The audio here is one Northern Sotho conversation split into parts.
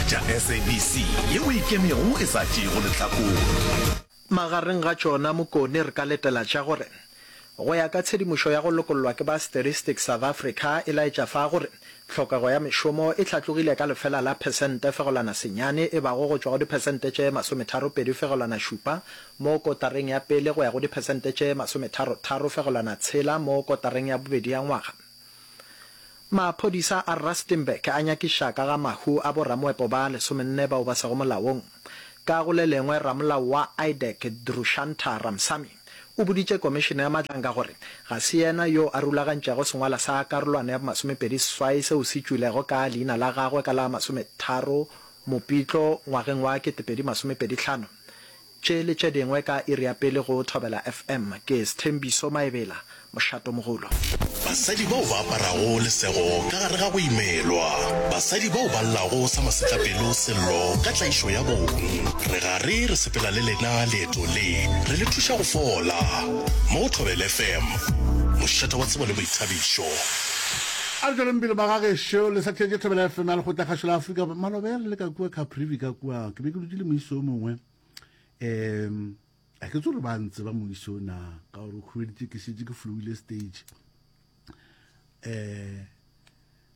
tša SABC yeo e ikemego e sa tšeego lehlakore. Magareng ga tšona Mokone re ka letela tša gore go ya ka tshedimošo ya go lokollwa ke ba Statistics South Africa e laetša fa gore tlhokego ya mešomo e hlatlogile ka lefela la phesente fegelwana senyane e bago go tšwa go diphesente tše masometharopedi fegelwana šupa mo kotareng ya pele go ya go diphesente tše masometharotharo fegelwana tshela mo kotareng ya bobedi ya ngwaga. Maphodisa a Rustenburg a nyakiša ka ga mahu a boramoepo ba lesomenne bao ba sego molaong. Ka go le lengwe, ramolao wa IDAC Drushantha Ramsamy o boditše Komišene ya Madlanga gore ga se yena yo a rulagantšego sengwala sa karolwana ya bomasomepedi seswai seo se tšwilego ka leina la gagwe ka la masometharo Mopitlo ngwageng wa 2025. Tše le tše dingwe ka iri ya pele go Thobela FM. Ke Sthembiso Maebela, mošatomogolo. Basadi bao ba aparago lesego ka gare ga go imelwa. Basadi bao ba llago sa masetlapelo sello ka tlaišo ya bong. Re gare re sepela le lena leeto le, re le thuša go fola. Mo go Thobela FM, mošate wa tsebo le boithabišo. A re tšweleng pele magagešo, le sa theetše Thobela FM ya Lekgotlakgašo la Afrika. Maloba ya re le ka kua Caprivi ka kua, ke be ke dutše le moisa o mongwe. Um a ke tsore ba ntse ba moiso na ka gore o khubeditše ke šetše ke flowile stage. Um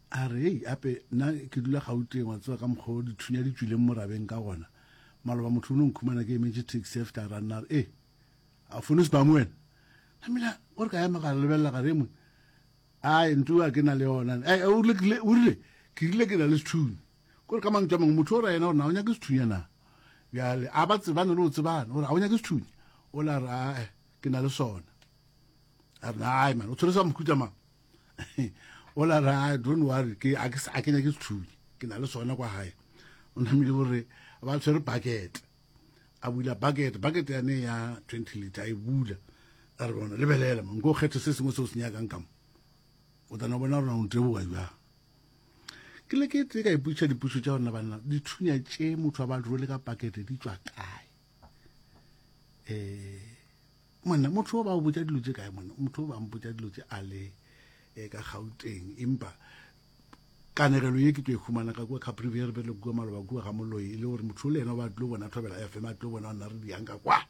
a re ei ape nna ke dula Gauteng wa tseba ka mokgwa o dithunya di tšwileng morabeng ka gona. Maloba motho o no nkhumana ke emetše taxi ya fihla ra nna re e a fone sebang wena. Namile o re ka ema ka lebelela ka re mongwe ai ntu a ke na le yona. Ai o rile o rile ke rile ke na le sethunya. Kore ka mantšu a mangwe motho o ra yena gore na o nyake sethunya na. Bjale a ba tsebane le go tsebana gore a o nyake sethunya. O la re ae ke na le sona. A re ai man o tshwere sa mohuta mang. O la re ai don't worry ke a ke a ke nyake sethunya. Ke na le sona kwa gae. O namile gore ba tshwere bucket. A bula bucket, bucket yane ya 20 liter a e bula. A re bona lebelela man ko kgethe se sengwe se o se nyakang ka mo. O tla no bona gore o nteboga jwang. Ke le ke tee ka ipotšiša dipotšišo tša gore na banna dithunya tše motho a ba rwele ka pakete di tšwa kae. Um monna motho o ba o botša dilo tše kae monna motho o ba mpotša dilo tše a le eh, ka Gauteng empa kanegelo ye ke tlo e humana ka kua Caprivi re be le kua maloba kua ga moloi e le gore motho o le yena o ba tlo bona Thobela FM a tlo bona nna re diang ka kwa.